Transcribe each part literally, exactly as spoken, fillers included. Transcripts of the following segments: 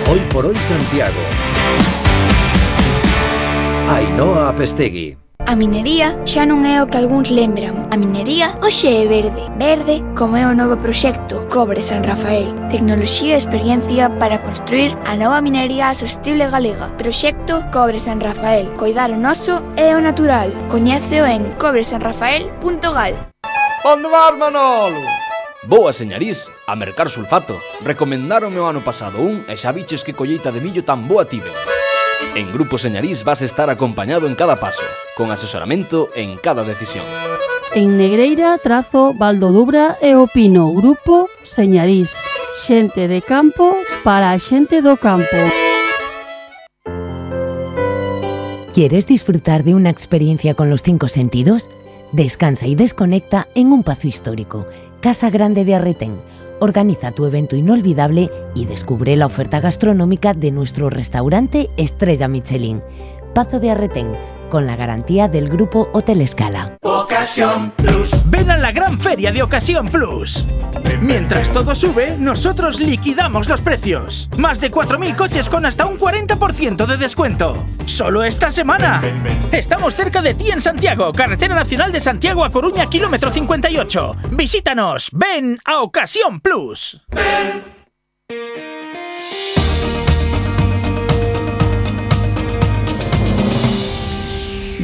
Hoy por hoy Santiago. Ainhoa Apestegui. A minería xa non é o que algúns lembran. A minería hoxe é verde. Verde como é o novo proxecto Cobre San Rafael. Tecnoloxía e experiencia para construir a nova minería sostible galega. Proxecto Cobre San Rafael. Coidar o noso e o natural. Coñéceo en cobre san rafael punto gal. Onde vas, Manolo? Boa, señarís, a mercar sulfato. Recomendáronme o ano pasado un e xa biches que colleita de millo tan boa tive. En Grupo Señarís vas estar acompañado en cada paso, con asesoramento en cada decisión. En Negreira, Trazo, Valdodubra e o Pino, Grupo Señarís. Xente de campo para a xente do campo. ¿Quieres disfrutar de una experiencia con los cinco sentidos? Descansa y desconecta en un pazo histórico. Casa Grande de Arretén. Organiza tu evento inolvidable y descubre la oferta gastronómica de nuestro restaurante Estrella Michelin. Pazo de Arretén, con la garantía del Grupo Hotel Escala. Ocasión Plus. Ven a la gran feria de Ocasión Plus. Mientras todo sube, nosotros liquidamos los precios. Más de cuatro mil coches con hasta un cuarenta por ciento de descuento. ¡Solo esta semana! Estamos cerca de ti en Santiago, Carretera Nacional de Santiago a Coruña, kilómetro cincuenta y ocho. Visítanos. Ven a Ocasión Plus. Ven.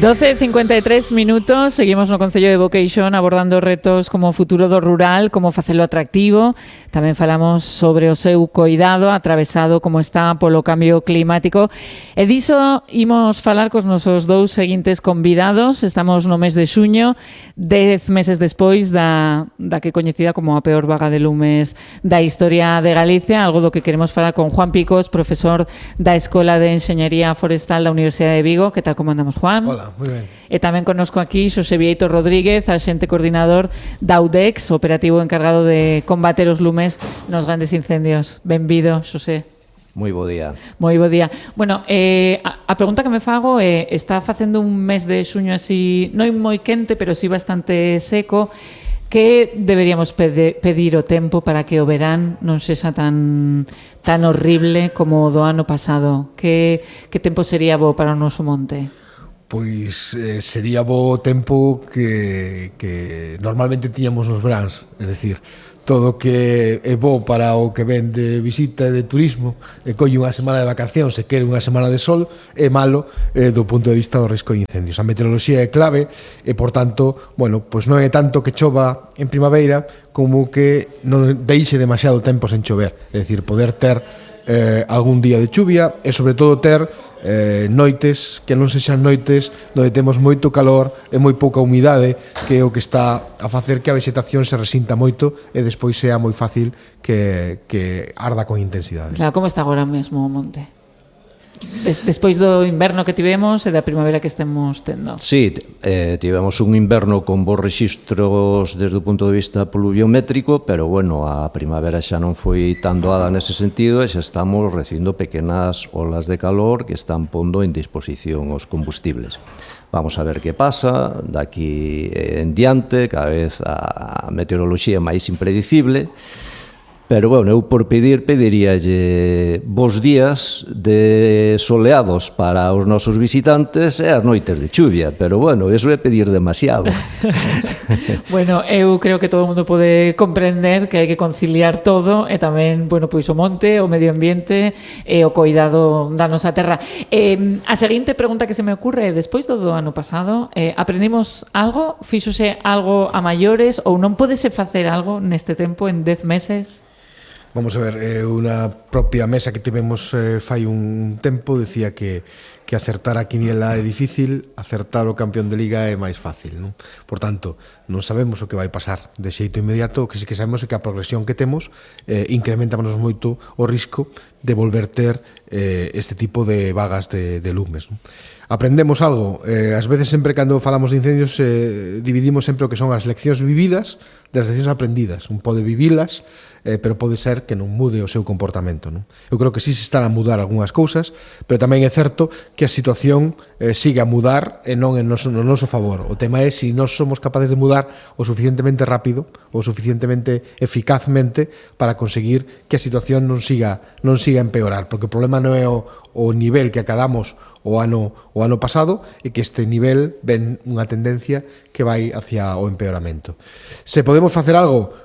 doce e cincuenta e tres minutos, seguimos no Concello de Boqueixón abordando retos como o futuro do rural, como facelo atractivo. Tamén falamos sobre o seu coidado atravesado como está polo cambio climático. E diso imos falar cos nosos dous seguintes convidados. Estamos no mes de xuño, dez meses despois da, da que coñecida como a peor vaga de lumes da historia de Galicia, algo do que queremos falar con Juan Picos, profesor da Escola de Enxeñería Forestal da Universidade de Vigo. Que tal, como andamos, Juan? Hola. Moi ben. E tamén connosco aquí Xosé Vieito Rodríguez, axente coordinador da U D E X, operativo encargado de combater os lumes nos grandes incendios. Benvido, Xosé. Moi bo día. Moi bo día. Bueno, eh, a, a pregunta que me fago é, está facendo un mes de xuño así, non moi quente, pero sí bastante seco. Que deberíamos pede, pedir o tempo para que o verán non sexa tan tan horrible como o do ano pasado? Que, que tempo sería bo para o noso monte? Pois eh, sería bo tempo que, que normalmente tiñamos nos veráns, é dicir, todo que é bo para o que ven de visita e de turismo e colle unha semana de vacacións e quere unha semana de sol, é malo eh, do punto de vista do risco de incendios. A meteoroloxía é clave e, por tanto, bueno, pois non é tanto que chova en primavera como que non deixe demasiado tempo sen chover, é dicir, poder ter eh, algún día de chuvia e, sobre todo, ter Eh, noites que non sexan noites onde temos moito calor e moi pouca humidade, que é o que está a facer que a vegetación se resinta moito e despois sea moi fácil que, que arda con intensidade. Claro, como está agora mesmo o monte? Des, despois do inverno que tivemos e da primavera que estemos tendo. Sí, eh, tivemos un inverno con bons rexistros desde o punto de vista pluviométrico, pero bueno, a primavera xa non foi tan doada nese sentido e xa estamos recibindo pequenas olas de calor que están pondo en disposición os combustibles. Vamos a ver que pasa daqui en diante, cada vez a meteoroloxía é máis impredicible. Pero, bueno, eu por pedir, pediríalle bons días de soleados para os nosos visitantes e as noites de chuvia, pero, bueno, eso é pedir demasiado. Bueno, eu creo que todo o mundo pode comprender que hai que conciliar todo e tamén, bueno, pois o monte, o medio ambiente e o coidado da nosa terra. Eh, a seguinte pregunta que se me ocurre é, despois do do ano pasado, eh, aprendimos algo? Fíxose algo a maiores ou non podese facer algo neste tempo en dez meses? Vamos a ver, eh, unha propia mesa que tivemos eh, fai un tempo decía que, que acertar a quiniela é difícil, acertar o campeón de liga é máis fácil, non? Por tanto, non sabemos o que vai pasar de xeito inmediato, o que sí que sabemos é que a progresión que temos eh, incrementamos moito o risco de volver ter eh, este tipo de vagas de, de lumes, non? Aprendemos algo, eh, ás veces sempre cando falamos de incendios eh, dividimos sempre o que son as leccións vividas das leccións aprendidas. Un pode vivilas, eh, pero pode ser que non mude o seu comportamento, non? Eu creo que sí se están a mudar algunhas cousas, pero tamén é certo que a situación eh, siga a mudar e non en noso, no noso favor. O tema é se nós somos capaces de mudar o suficientemente rápido ou suficientemente eficazmente para conseguir que a situación non siga non siga a empeorar, porque o problema non é o, o nivel que acadamos o ano o ano pasado e que este nivel ven unha tendencia que vai hacia o empeoramento. Se podemos facer algo,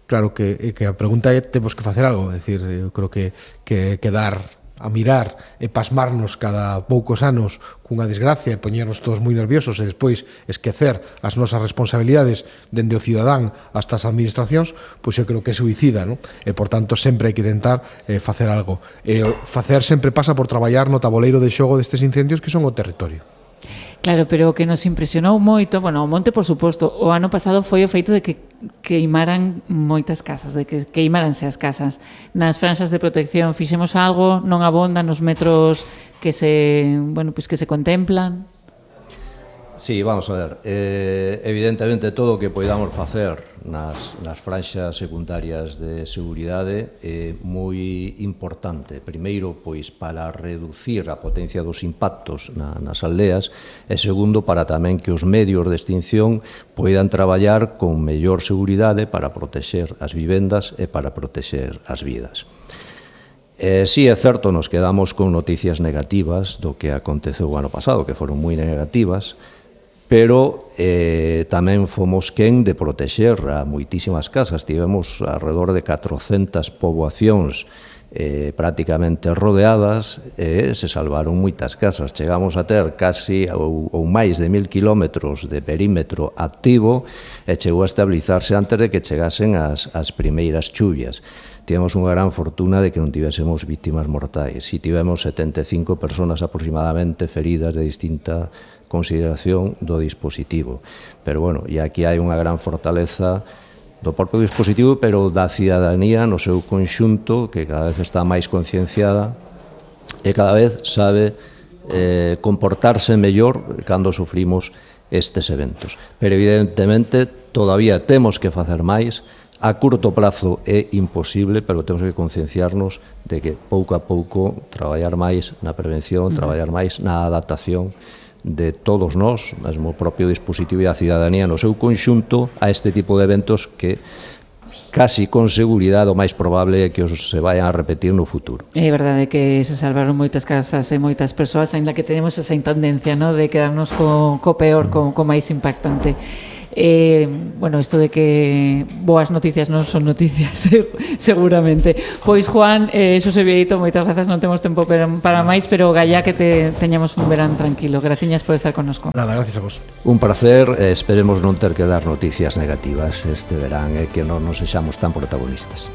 claro que, que a pregunta é temos que facer algo, é dicir, eu creo que que quedar a mirar e pasmarnos cada poucos anos cunha desgracia e poñernos todos moi nerviosos e despois esquecer as nosas responsabilidades dende o cidadán hasta as administracións, pois eu creo que é suicida, non? E, por tanto, sempre hai que tentar eh, facer algo. E facer sempre pasa por traballar no taboleiro de xogo destes incendios que son o territorio. Claro, pero o que nos impresionou moito, bueno, o monte, por suposto, o ano pasado foi o feito de que queimaran moitas casas, de que queimaranse as casas. Nas franxas de protección fixemos algo, non abondan nos metros que se, bueno, pues que se contemplan. Sí, vamos a ver, eh, evidentemente todo o que poidamos facer nas, nas franxas secundarias de seguridade é moi importante. Primeiro, pois, para reducir a potencia dos impactos na, nas aldeas e segundo, para tamén que os medios de extinción poidan traballar con mellor seguridade para protexer as vivendas e para protexer as vidas. Eh, sí, é certo, nos quedamos con noticias negativas do que aconteceu o ano pasado, que foron moi negativas, pero eh, tamén fomos quen de protexer a moitísimas casas. Tivemos alrededor de catrocentas poboacións eh, prácticamente rodeadas e se salvaron moitas casas. Chegamos a ter casi ou, ou máis de mil kilómetros de perímetro activo e chegou a estabilizarse antes de que chegasen as, as primeiras chuvias. Tivemos unha gran fortuna de que non tivésemos víctimas mortais. Si tivemos setenta e cinco personas aproximadamente feridas de distinta consideración do dispositivo. Pero, bueno, e aquí hai unha gran fortaleza do propio dispositivo, pero da cidadanía no seu conxunto, que cada vez está máis concienciada e cada vez sabe eh, comportarse mellor cando sufrimos estes eventos. Pero, evidentemente, todavía temos que facer máis. A curto prazo é imposible, pero temos que concienciarnos de que pouco a pouco traballar máis na prevención, traballar máis na adaptación de todos nós, mesmo o propio dispositivo e a cidadanía no seu conxunto a este tipo de eventos que casi con seguridade o máis probable é que os se vayan a repetir no futuro. É verdade que se salvaron moitas casas e moitas persoas, ainda que tenemos esa tendencia, ¿no?, de quedarnos co, co peor, co, co máis impactante. Eh, bueno, isto de que boas noticias non son noticias, seguramente. Pois, Juan, eh, Xosé Vieito, moitas grazas, non temos tempo para, para máis, pero gallá que te teñamos un verán tranquilo. Graciñas por estar connosco. Nada, gracias a vos. Un placer, eh, esperemos non ter que dar noticias negativas este verán e eh, que non nos sexamos tan protagonistas.